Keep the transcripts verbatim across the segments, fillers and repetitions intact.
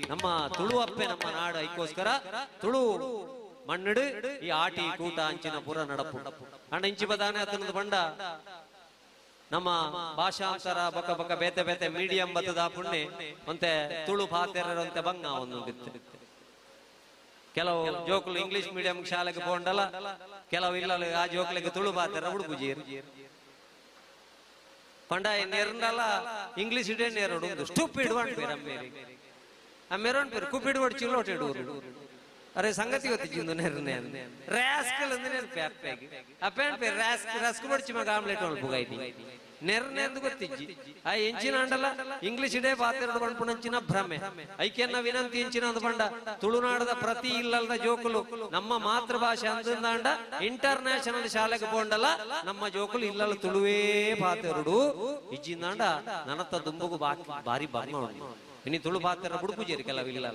ನಮ್ಮ ತುಳುವಪ್ಪೆ ನಮ್ಮ ನಾಡು. ಐಕೋಸ್ಕರ ತುಳು ಮಣ್ಣಡು ಈ ಆಟಿ ಕೂಟ ಅಂಚಿನ ಪುರ ನಡಪು ಅಂಡ ಇಂಚಿ ಬದಾನೆ ಅತನದ ಬಂಡ ನಮ್ಮ ಭಾಷಾಂತರ ಬಕ ಬಕ ಬೇತೆ ಬೇತೆ ಮೀಡಿಯಂ ಬತ್ತದ ಪುಣ್ಯ ಒಂತೆ ತುಳು ಪಾತೆರಂತೆ ಬಂಗ ಒಂದುಂಡಿತ್ತು. ಕೆಲವು ಜೋಕುಲು ಇಂಗ್ಲಿಷ್ ಮೀಡಿಯಂ ಶಾಲೆಗೆ ಪೋಂಡಲ್ಲ, ಕೆಲವು ಇಲ್ಲ ಆ ಜೋಕ್ಲಿಗೆ ತುಳು ಪಾತೆರ ಉಡುಪುಜೀರ್ ಪಂಡ ನೇರಂಡಲ್ಲ ಇಂಗ್ಲಿಷ್ ಇಡೇ ನೇರೋಡು ಸ್ಟೂಪಿಡ್ ಪೇರು ಅಮ್ಮೇರಿ ಅಮ್ಮೇರೋನ್ ಪೇರು ಕುಪಿಡ್ ಒಡ್ ಚಿಲ್ಲೋಟೆಡೂರು. ಅರೆ ಸಂಗತಿ ಗೊತ್ತಿದ್ದು ನೆರ್ನೆ ರಾಸ್ಕಲ್ ಅಂದ್ರೆ ನೆನಪೆ ಅಪ್ಪೆಗೆ ಅಪ್ಪೆ ಪೇರು ರಾಸ್ಕ್ ರಸ್ಕ್ ಬಡ್ಚಿ ಮಗ ಆಮ್ಲೆಟ್ ಒಳ್ಪುಗೈತಿ ನೆರ್ನೆ ಅಂದು ಗೊತ್ತಿಜ್ಜಿ. ಆ ಎಂಚಿನ ಅಂಡಲ್ಲ ಇಂಗ್ಲಿಷ್ ಇಡೇ ಪಾತೆರಡು ಪಂಪುಣಂಚಿನ ಭ್ರಮೆ. ಐಕೆನ್ನ ವಿನಂತಿ ಎಂಚಿನ ಅಂದು ಪಂಡ ತುಳುನಾಡದ ಪ್ರತಿ ಇಲ್ಲದ ಜೋಕುಲು ನಮ್ಮ ಮಾತೃಭಾಷೆ ಅಂದಂಡ ಇಂಟರ್ ನ್ಯಾಷನಲ್ ಶಾಲೆಗೆ ಪೋಂಡಲ್ಲ ನಮ್ಮ ಜೋಕುಲು ಇಲ್ಲಲ್ಲ ತುಳುವೇ ಪಾತೆರಡು ಇಜ್ಜಿಂದಾಂಡ ನನತ್ತ ದುಂಬುಗು ಬಾಕಿ ಬಾರಿ ಬಂಗ ಉಂಡು. ಇನಿ ತುಳು ಪಾತೆರ ಬುಡುಪುಜೇರಿ ಕೆಲವು ಇಲ್ಲ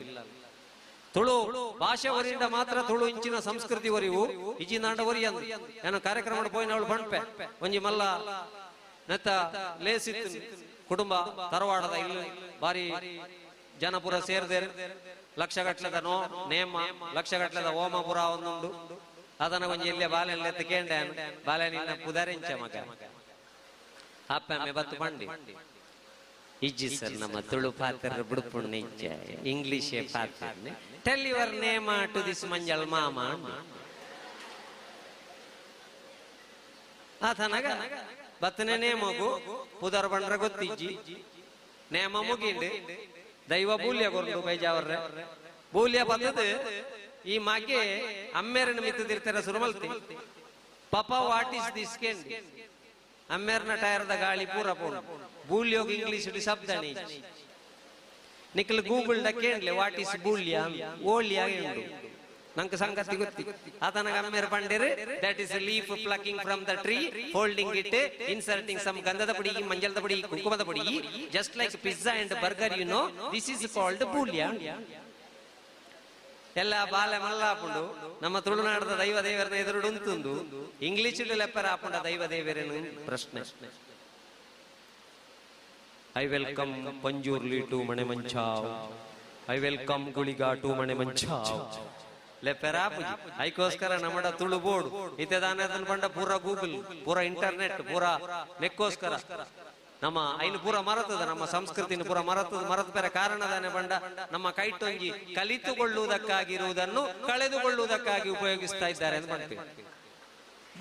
ತುಳು ಭಾಷೆ ಒರಿಂದ ಮಾತ್ರ ತುಳು ಇಂಚಿನ ಸಂಸ್ಕೃತಿ ಒರಿವು ಇಜ್ಜಿಂದಾಂಡ ಒರಿ ಅಂದು ನಾನು ಕಾರ್ಯಕ್ರಮ ಪೋಯಿನವಳು ಪಂಪೆ ಒಂಜಿ ಮಲ್ಲ ನೆತ್ತ ಲೇಸಿತ್ತು ಕುಟುಂಬ ತರವಾಡದ ಇಲ್ಲಿ ಬಾರಿ ಜನಪುರ ಸೇರ್ದೇರು ಲಕ್ಷಗಟ್ಲೆದ ನೋ ನೇಮ ಲಕ್ಷಗಟ್ಲೆದ ಓಮಪುರ ಒಂದುಂಡು. ಅದನ್ನ ಒಂಜಿ ಇಲ್ಲೇ ಬಾಲೆಲ್ಲ ಎತ್ತು ಕೇಂಡೆ ಬಾಲೆ ನಿನ್ನ ಪುದರಿಂಚ ಮಗ ಅಪ್ಪಮ್ಮೆ ಬತ್ತು ಬಂಡಿ ಇಜ್ಜಿ ಸರ್ ನಮ್ಮ ತುಳು ಪಾತ್ರ ಬುಡುಪುಣ್ಣ ಇಜ್ಜ ಇಂಗ್ಲಿಷೇ ಪಾತ್ರ tell your name to this manjal ಮಾಮ ಆತನಗ ಬತ್ತನೆ ನೇಮಗು ಪುದರ್ ಬಂಡ್ರ ಗೊತ್ತಿಜ್ಜಿ ನೇಮ ಮುಗಿಂಡು ದೈವ ಬೂಲ್ಯ ಕೊರ್ದು ಬೈಜಾವರ್ರೆ ಬೂಲ್ಯ ಬತ್ತದ ಈ ಮಗೆ ಅಮ್ಮೇರನ ಮಿತ್ತದಿರ್ತಾರ ಸುರುಮಲ್ತಿ ಪಾಪ what is this ಕೇಂಡಿ ಅಮ್ಮೇರ್ನ ಟೈರ್ದ ಗಾಳಿ ಪೂರ ಪೋಣ ಬೂಲ್ಯೋಗ ಇಂಗ್ಲಿಷ್ ಶಬ್ದನೆ ನಿಖಲ್ ಗೂಗಲ್ ದ ಕೇಂಡ್ಲೆ what is ಬೂಲ್ಯ ಓಲ್ಯ ಉಂಡು ನಂಗೆ ಸಂಗತಿ ಗೊತ್ತಿ ಆತನಗ ಅಮ್ಮೇರ್ ಪಂಡೇರು that is leaf plucking from the tree folding it inserting some ಗಂಧದ ಪುಡಿ ಮಂಜಲದ ಪುಡಿ ಕುಂಕುಮದ ಪುಡಿ just like pizza and burger you know this is called ಬೂಲ್ಯ. ಎಲ್ಲ ಬಾಲೆ ಮಲ್ಲಾಪುಂಡು ನಮ್ಮ ತುಳುನಾಡದ ದೈವ ದೇವರನ್ನ ಎದುರುಡು ಉಂತುಂದು ಇಂಗ್ಲಿಷ್ ಲೆಪ್ಪರ ಆಪುಂಡ ದೈವ ದೇವರೇನು ಪ್ರಶ್ನೆ. I welcome Panjurli to Manemanchav, I welcome Guliga to Manemanchav ಲೆಪ್ಪೆರಾಪುಜಿ. ಐಕೋಸ್ಕರ ನಮ್ಮಡ ತುಳು ಬೋರ್ಡ್ ಇತ್ತೆ ದಾನ ಪಂಡ ಪೂರ ಗೂಗಲ್ ಪೂರ ಇಂಟರ್ನೆಟ್ ಪೂರ ನೆಕ್ಕೋಸ್ಕರ ನಮ್ಮ ಐನು ಪೂರ ಮರತದ ನಮ್ಮ ಸಂಸ್ಕೃತಿನ ಪೂರ ಮರತದ ಮರತ ಬೇರೆ ಕಾರಣದಾನೆ ಬಂಡ ನಮ್ಮ ಕೈಟೊಂಜಿ ಕಲಿತುಕೊಳ್ಳುವುದಕ್ಕಾಗಿರುವುದನ್ನು ಕಳೆದುಕೊಳ್ಳುವುದಕ್ಕಾಗಿ ಉಪಯೋಗಿಸ್ತಾ ಇದ್ದಾರೆ ಅಂತ ಮಾಡ್ತೀವಿ.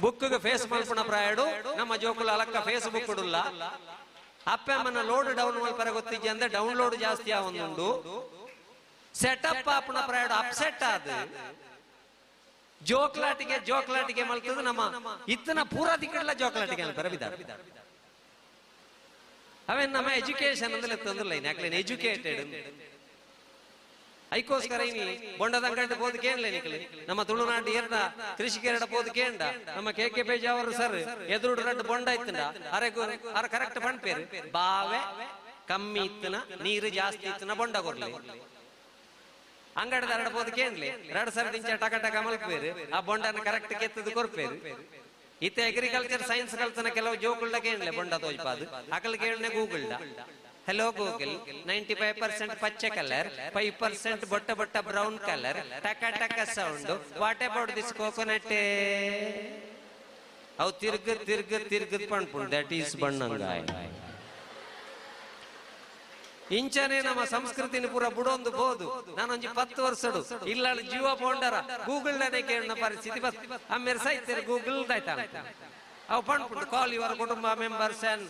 ಬುಕ್ಗೆ ಫೇಸ್ ಮಲ್ಪಣ ಪ್ರಾಯಡು ನಮ್ಮ ಜೋಕುಲ ಅಲಕ್ಕ ಫೇಸ್ ಬುಕ್ ಇಡುಲ್ಲ ಅಪ್ಪಮ್ಮನ ಲೋಡ್ ಡೌನ್ ಮಲ್ಪರ ಗೊತ್ತಿಜ್ಜಿ ಅಂದ್ರೆ ಡೌನ್ಲೋಡ್ ಜಾಸ್ತಿ ಆವೊಂದುಂಡು ಸೆಟಪ್ ಆಪಣ ಪ್ರಾಯಡು ಅಪ್ಸೆಟ್ ಆದ ಜೋಕ್ಲಾಟಿಗೆ ಜೋಕ್ಲಾಟಿಗೆ ಮಲ್ತದ ನಮ್ಮ ಇತ್ತನ ಪೂರ ದಿಕ್ಕಲ್ಲ ಜೋಕ್ಲಾಟಿಗೆ ಅನ್ಪರ ಬಿದ್ದಾರ. ಅವೇನ್ ನಮ್ಮ ಎಜುಕೇಶನ್ ಅಂದ್ರೆ ತಂದಿಲ್ಲ ಯಾಕಲೆ ಎಜುಕೇಟೆಡ್ ಐಕೋಸ್ಕರ ಇನಿ ಬೊಂಡದ ಅಂಗಡಿ ಪೋದು ಕೇಳಲೆ ನಿಕ್ಲೆ ನಮ್ಮ ತುಳುನಾಡು ಏರ್ನ ಕೃಷಿಕೆರಡ ಪೋದು ಕೇಂಡ ನಮ್ಮ ಕೆ ಕೆ ಪೇಜ್ ಅವರು ಸರ್ ಎದುರು ರಡ್ಡು ಬೊಂಡ ಇತ್ತಂಡ ಅರೆ ಅರ ಕರೆಕ್ಟ್ ಪಣ್ಪೇರು ಬಾವೆ ಕಮ್ಮಿ ಇತ್ತನ ನೀರು ಜಾಸ್ತಿ ಇತ್ತನ ಬೊಂಡ ಕೊರ್ಲಿ ಅಂಗಡಿದ ಎರಡ ಪೋದು ಕೇಂಡ್ಲಿ ಎರಡು ಸರ್ ದಿಂಚ ಟಕ ಟಕ ಮಲ್ಪೇರು ಆ ಬೊಂಡನ ಕರೆಕ್ಟ್ ಕೆತ್ತದು ಕೊರ್ಪೇರು. ಇತ್ತೆ ಅಗ್ರಿಕಲ್ಚರ್ ಸೈನ್ಸ್ ಕಲ್ತನ ಕೆಲವು ಜೋಕುಳ್ಳ ಕೇಳಲೆ ಬೊಂಡ ತೋಜ್ಪಾದು ಅಕಲ್ ಕೇಳನೆ Google hello Google ninety five percent ಪಚ್ಚೆ ಕಲರ್ ಫೈವ್ ಪರ್ಸೆಂಟ್ ಬೊಟ್ಟ ಬೊಟ್ಟ ಬ್ರೌನ್ ಕಲರ್ ಟಕ ಟಕ sound what about this coconut ಅವು ತಿರ್ಗ ತಿರ್ಗ ತಿರ್ಗದ್ ಪಣ್ಪುಂಡು that is ಬಣ್ಣಂಗಾಯ. ಇಂಚನೆ ನಮ್ಮ ಸಂಸ್ಕೃತಿನ ಪೂರ ಬುಡೊಂದು ಬೋದು ನಾನೊಂಜಿ ಪತ್ತು ವರ್ಷಡು ಇಲ್ಲ ಜೀವ ಪೋಂಡರ ಗೂಗಲ್ ನೇ ಕೇಳಿನ ಪರಿಸ್ಥಿತಿ ಬಸ್ ಆಮೇಲೆ ಸೈತೇರು ಗೂಗಲ್ ದಾಯ್ತ ಅವು ಪಣ್ಪುಂಡು ಕಾಲ್ your ಕುಟುಂಬ members and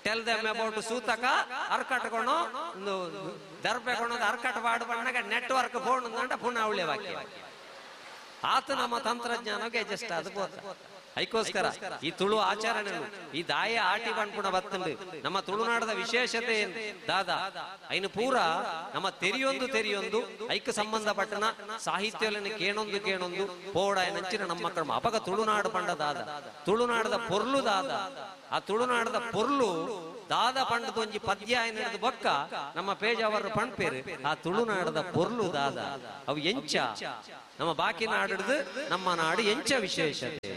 tell them about ಸೂತಕ ಅರ್ಕಟ್ಕೊಣೋ ದರ್ಬೆ ಕೊಣೋ ಅರ್ಕಟ್ ವಾಡು ಬಣ್ಣಗ ನೆಟ್ವರ್ಕ್ ಫೋನ್ ಅಂದ ಪುನಃ ಅವಳೆ ವಾಕ್ಯ ಆತ ನಮ್ಮ ತಂತ್ರಜ್ಞಾನಕ್ಕೆ ಅಡ್ಜಸ್ಟ್ ಅದು ಬೋತ. ಐಕೋಸ್ಕರ ಈ ತುಳು ಆಚರಣೆ ಈ ದಾಯ ಆಟಿ ಬಣ್ಪುಣ ಬತ್ತಂಡು ನಮ್ಮ ತುಳುನಾಡದ ವಿಶೇಷತೆ ಏನು ದಾದಾ ಐನು ಪೂರ ನಮ್ಮ ತೆರಿಯೊಂದು ತೆರಿಯೊಂದು ಐಕ್ ಸಂಬಂಧಪಟ್ಟನ ಸಾಹಿತ್ಯಗಳನ್ನು ಕೇಣೊಂದು ಕೇಣೊಂದು ಪೋಡ ನಂಚಿನ ನಮ್ಮ ಕ್ರಮ ಅಪಗ ತುಳುನಾಡು ಪಂಡ ದಾದ ತುಳುನಾಡದ ಪೊರ್ಲು ದಾದ ಆ ತುಳುನಾಡದ ಪೊರ್ಲು ದಾದ ಪಂಡದ ಒಂಜಿ ಪದ್ಯ ಏನಿಡ್ದು ಬೊಕ್ಕ ನಮ್ಮ ಪೇಜ್ ಅವರು ಪಣ್ಪೇರು ಆ ತುಳುನಾಡದ ಪೊರ್ಲು ದಾದ ಅವು ಎಂಚ ನಮ್ಮ ಬಾಕಿ ನಾಡಿಡ್ದು ನಮ್ಮ ನಾಡು ಎಂಚ ವಿಶೇಷತೆ.